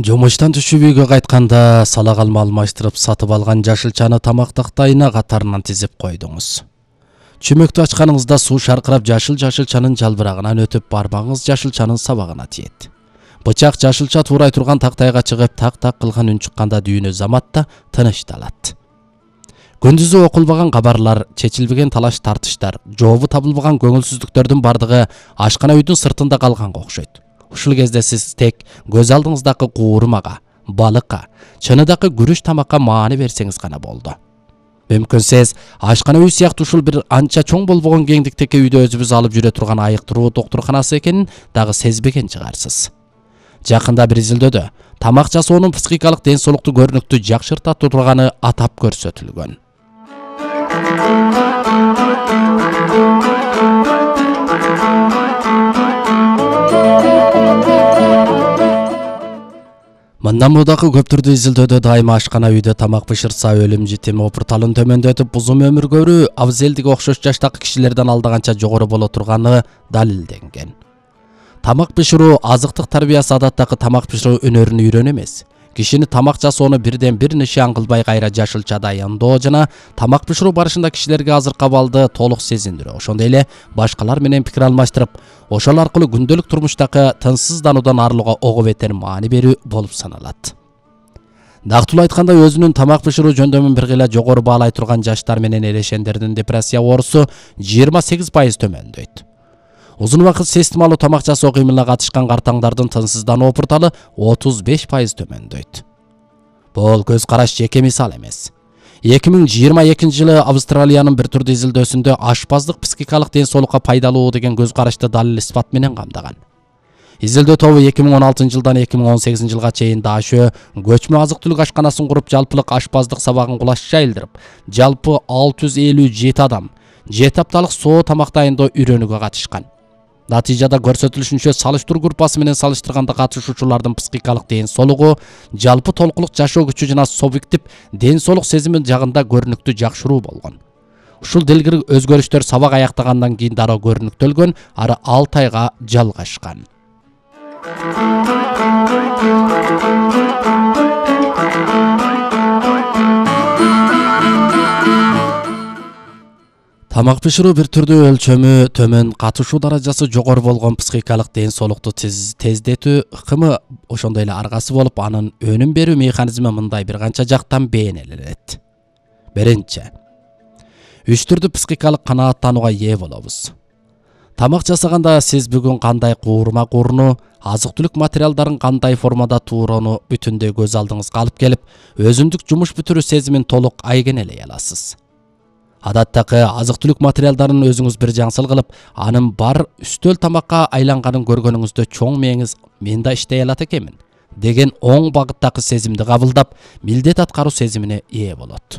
Жумуштан түшүп үйгө кайтканда сала калма алмаштырып сатып алган жашылчаны тамак тактайына катарынан тизип койдуңуз. Чүмөктү ачканыңызда суу шаркырап жашылчанын жалбырагынан өтүп бармагыңыз жашылчанын сабагына тиет. Бычак жашылча туурай турган тактайга чыгып так кылган үн чыкканда дүйнө заматта тынычталат. Күндүзү окулбаган кабарлар, чечилбеген талаш тартыштар, жообу табылбаган көңүлсүздүктөрдүн бардыгы ашкана үйдүн сыртында калганга окшойт. Ушул кезде сиз тек көз алдыңыздагы куурмага, балыкка, чыныдагы күрүч тамакка маани берсеңиз гана болду. Мүмкүн сиз ашкана үй сыяктуу ушул бир анча чоң болбогон кеңдиктеги үйдө өзүбүз алып жүрө турган айыктыруу доктурканасы экенин дагы сезбеген чыгарсыз. Жакында бир изилдөөдө тамак жасоонун психикалык ден соолукту көрүнүктүү жакшырта турганы атап көрсөтүлгөн. Мындан мудагы көптүрдүү изилдөөдө дайыма ашкана үйдө тамак бышырса өлүм житими опурталын төмөндөтүп узун өмүр көрүү абзелдиги окшош жаштагы кишилерден алдаганча жогору боло турганы далилденген. Тамак бышыруу азыктык тарбиясы адаттагы тамак бышыруу өнөрүнө үйрөнүү эмес. Кишини тамак жасоону бирден бир нишан кылбай кайра жашылча дайындоо жана тамак бышыруу барышында кишилерге азыр кабалды толук сезиндирүү, ошондой эле башкалар менен пикир алмаштырып, ошол аркылуу күндөлүк турмуштагы тынчсыздануудан арылууга ого бетер маани берүү болуп саналат. Дактылуу айтканда өзүнүн тамак бышыруу жөндөмүн бир кыйла жогору баалай турган жаштар менен эрешендердин депрессия оорусу 28% төмөндөйт. Узун убакыт системалуу тамак жасоо кыймылына катышкан картаңдардын тынчсыздануу опурталы 35% төмөндөйт. Бул көз караш жеке мисал эмес. 2022 жылы Австралиянын бир түрдүү изилдөөсүндө ашпаздык психикалык ден соолукка пайдалуу деген көз карашты далил испат менен камдаган. Изилдөө тобу 2016 жылдан 2018 жылга чейин Дашө көчмө азык-түлүк ашканасын куруп, жалпылык ашпаздык сабагын кулаш жайылдырып, жалпы 657 адам 7 апталык соо тамак дайындоо үйрөнүүгө катышкан. Натыйжада көрсөтүлүшүнчө салыштыруу группасы менен салыштырганда катышуучулардын психикалык ден соолугу, жалпы толуктук жашоо күчү жана субъектив ден соолук сезими жагында көрүнүктүү жакшыруу болгон. Ушул делгир өзгөрүштөр сабак аяктагандан кийин дароо көрүнүктөлгөн, ары 6 айга жалгашкан. Тамак бышыруу бир түрдүү өлчөмү төмөн, катышуу даражасы жогору болгон психикалык ден соолукту тездетүү ыкымы ошондой эле аргасы болуп, анын өнүм берүү механизми мындай бир канча жактан бейнеленет. Биринчи, 3 түрдүү психикалык канааттанууга ээ болобуз. Тамак жасаганда сиз бүгүн кандай куурма кууруну, азык-түлүк материалдарын кандай формада туурону бүтүндөй көз алдыңызга алып келип, өзүндүк жумуш бүтүрүү сезимин толук айгенелей аласыз. Адаттагы азык-түлүк материалдарын өзүңүз бир жаңсыл кылып, анын бар үстөл тамакка айланганын көргөнүңүздө чоң мээңиз мен да иштей алат экенмин деген оң багыттагы сезимди кабылдап, милдет аткаруу сезимине ээ болот.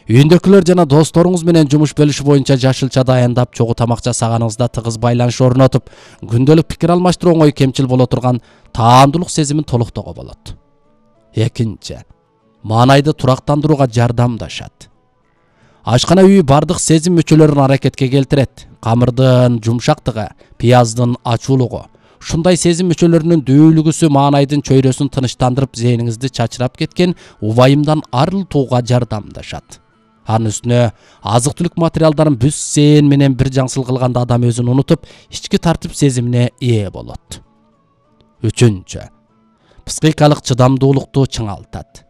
Үйүндөгүлөр жана досторуңуз менен жумуш бөлүшүү боюнча жашылча дайындап, чогуу тамак жасаганыңызда тыгыз байланыш орнотуп, күндөлүк пикир алмаштыруу оңой кемчил боло турган таандуулук сезимин толуктоого болот. Экинчи, маанайды турактандырууга жардамдашат. Ашкана үй бардык сезим мүчөлөрүн аракетке келтирет. Камырдын жумшактыгы, пияздын ачуулугу, ушундай сезим мүчөлөрүнүн дүүлүгүсү маанайдын чөйрөсүн тынычтандырып, зээниңизди чачырап кеткен убайымдан арылтууга жардамдашат. Анын үстүнө азык-түлүк материалдарын бүс зээн менен бир жаңсыл кылганда адам өзүн унутуп, ички тартип сезимине ээ болот. Үчүнчү, психикалык чыдамдуулукту чыңалтат.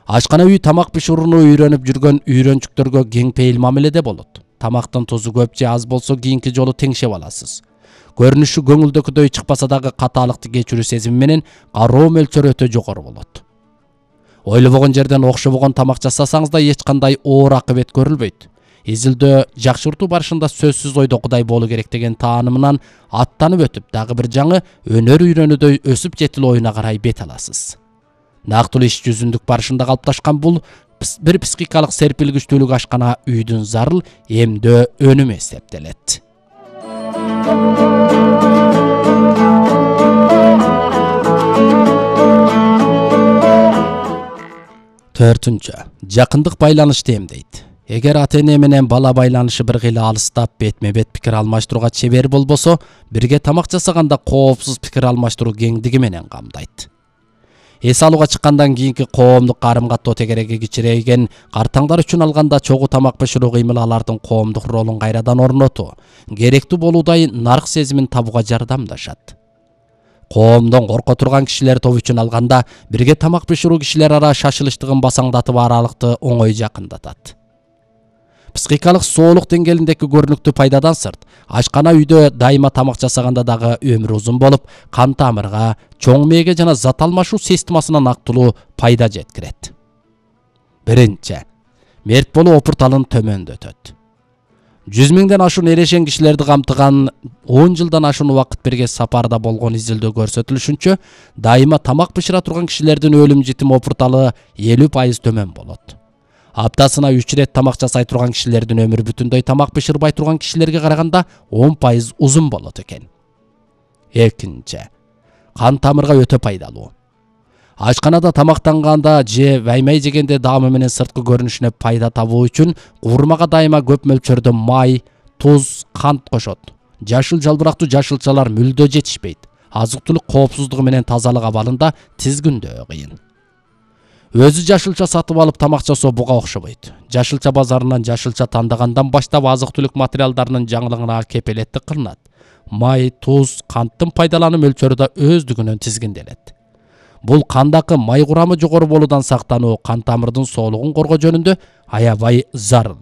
Ашкана үй тамак бышырууну үйрөнүп жүргөн үйрөнчүктөргө кең пейил мамиледе болот. Тамактын тузу көп же аз болсо кийинки жолу теңшеп аласыз. Көрүнүшү көңүлдөгүдөй чыкпаса дагы катаалыкты кечирүү сезими менен кароо мөлчөрү өтө жогору болот. Ойлобогон жерден окшобогон тамак жасасаңыз да эч кандай оор акыбет көрүлбөйт. Изилдөө жакшыртуу барышында сөзсүз ойдогудай болуу керек деген таанымынан аттанып өтүп, дагы бир жаңы өнөр үйрөнүүдөй өсүп жетилүү оюна карай бет аласыз. Нактылуу иш жүзүндүк барышында калыпташкан бул бир психикалык серпилгичтүүлүк ашкана үйдүн зарыл эмдөө өнүмү эсептелет. Төртүнчү, жакындык байланышты эмдейт. Эгер ата-эне менен бала байланышы бир кыйла алыстап, бетме-бет пикир алмаштырууга чебер болбосо, бирге тамак жасаганда коопсуз пикир алмаштыруу кеңдиги менен камдайт. Эс алууга чыккандан кийинки коомдук карым-каттоо тегереги кичирейген, картаңдар үчүн алганда чогуу тамак бышыруу кыймылы алардын коомдук ролун кайрадан орнотуу, керектүү болуудай нарк сезимин табууга жардамдашат. Коомдон корко турган кишилер тобу үчүн алганда бирге тамак бышыруу кишилер ара шашылыштыгын басаңдатып аралыкты оңой жакындатат. Психикалык соолук деңгээлиндеги көрүнүктүү пайдадан сырт, ашкана үйдө дайыма тамак жасаганда дагы өмүр узун болуп, кан тамырга, чоң мээге жана зат алмашуу системасына нактылуу пайда жеткирет. Биринчи, мерт болуу опурталын төмөндөтөт. 100 миңден ашуун эрешен кишилерди камтыган 10 жылдан ашуун убакыт бирге сапарда болгон изилдөө көрсөтүлүшүнчө, дайыма тамак бышыра турган кишилердин өлүм житим опурталы 50% төмөн болот. Аптасына 3 рет тамак жасай турган кишилердин өмүрү бүтүндөй тамак бышырбай турган кишилерге караганда 10% узун болот экен. Экинчи, кан тамырга өтө пайдалуу. Ашканада тамактанганда же ваймай жегенде даамы менен сырткы көрүнүшүнө пайда табуу үчүн куурмага дайыма көп мөлчөрдө май, туз, кант кошот. Жашыл жалбырактуу жашылчалар мүлдө жетишпейт. Азык-түлүк коопсуздугу менен тазалык абалында тизгүндөө кыйын. Өзү жашылча сатып алып тамак жасоо буга окшобойт. Жашылча базарынан жашылча тандагандан баштап азык-түлүк материалдарынын жаңылыгына кепелеттик кылынат. Май, туз, канттын пайдалануу мөлчөрү да өздүгүнөн тизгинделет. Бул кандагы май курамы жогору болуудан сактануу, кан тамырдын соолугун коргоо жөнүндө аябай зарыл.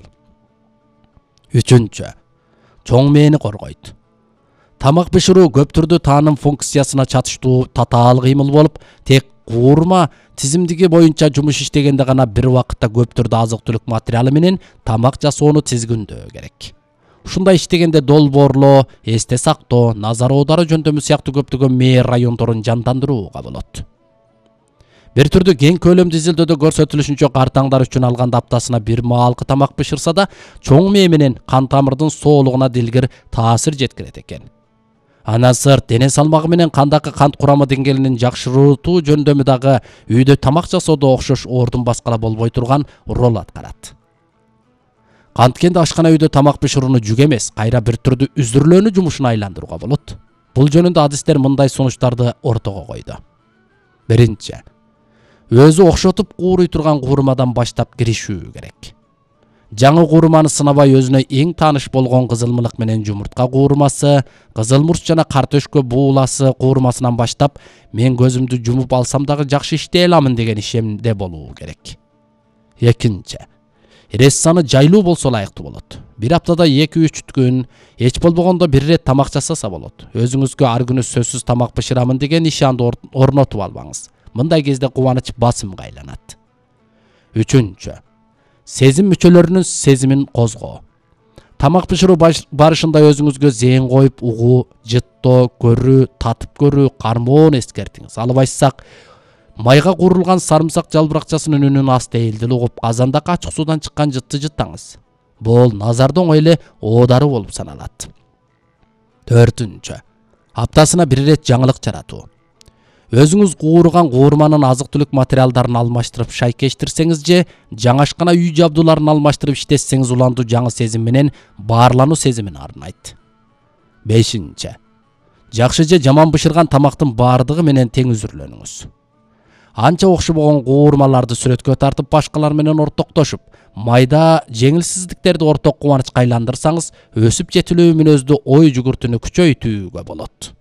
Үчүнчү, чоң мээни коргойт. Тамак бышыруу көп түрдүү тааным функциясына чатыштуу татаал кыймыл болуп, тек куурма тизимдиги боюнча жумуш иштегенде гана бир убакытта көп түрдүү азык-түлүк материалы менен тамак жасоону тизгиндөө керек. Ушундай иштегенде долбоорлоо, эсте сактоо, назар оодаруу жөндөмү сыяктуу көптөгөн мээ райондорун жандандырууга болот. Бир түрдүү кең көлөмдүү изилдөөдө көрсөтүлүшүнчө, картаңдар үчүн алганда аптасына бир маалкы тамак бышырса да, чоң мээ менен кан тамырдын соолугуна дилгир таасир жеткирет экен. Андан сырт, дене салмагы менен кандагы кант курамы деңгээлин жакшыртуу жөндөмү дагы үйдө тамак жасоодо окшош ордун баскыла болбой турган роль аткарат. Канткенде ашкана үйдө тамак бышырууну жүк эмес, кайра бир түрдүү үзүрлөөнү жумушуна айландырууга болот. Бул жөнүндө адистер мындай сунуштарды ортого койду. Биринчи, өзү окшотуп кууруй турган куурмадан баштап киришүү керек. Жаңы куурманы сынабай өзүнө эң тааныш болгон кызылмылык менен жумуртка куурмасы, кызылмурч жана картөшкө бууласы куурмасынан баштап мен көзүмдү жумуп алсам дагы жакшы иштей аламын деген ишемде болуу керек. Экинчи, эрес саны жайлуу болсо ылайыктуу болот. Бир аптада 2-3 күн, эч болбогондо бир рет тамак жасаса болот. Өзүңүзгө ар күнү сөзсүз тамак бышырамын деген ишанды орнотуп албаңыз. Мындай кезде кубаныч басымга айланат. Үчүнчү, сезим мүчөлөрүнүн сезимин козгоо. Тамак бышыруу барышында өзүңүзгө зээн коюп, угуу, жыттоо, көрүү, татып көрүү, кармоону эскертиңиз. Албайсак, майга куурулган сарымсак жалбыракчасынын үнүн аста элдил угуп, казандагы ачык суудан чыккан жытты жыттаңыз. Бул назарда оңой эле оодаруу болуп саналат. Төртүнчү, аптасына бир рет жаңылык жаратуу. Өзүңүз кууруган куурманын азык-түлүк материалдарын алмаштырып шайкештирсеңиз же жаңашкана үй жабдууларын алмаштырып иштетсеңиз, уландуу жаңы сезим менен баарлануу сезимин арнайт. Бешинчи, жакшы же жаман бышырган тамактын баардыгы менен тең үзүрлөнүңүз. Анча окшобогон куурмаларды сүрөткө тартып, башкалар менен ортоктошуп, майда жеңилсиздиктерди орток кубанычка айландырсаңыз, өсүп жетилүү мүнөздүү ой жүгүртүүнү күчөйтүүгө болот.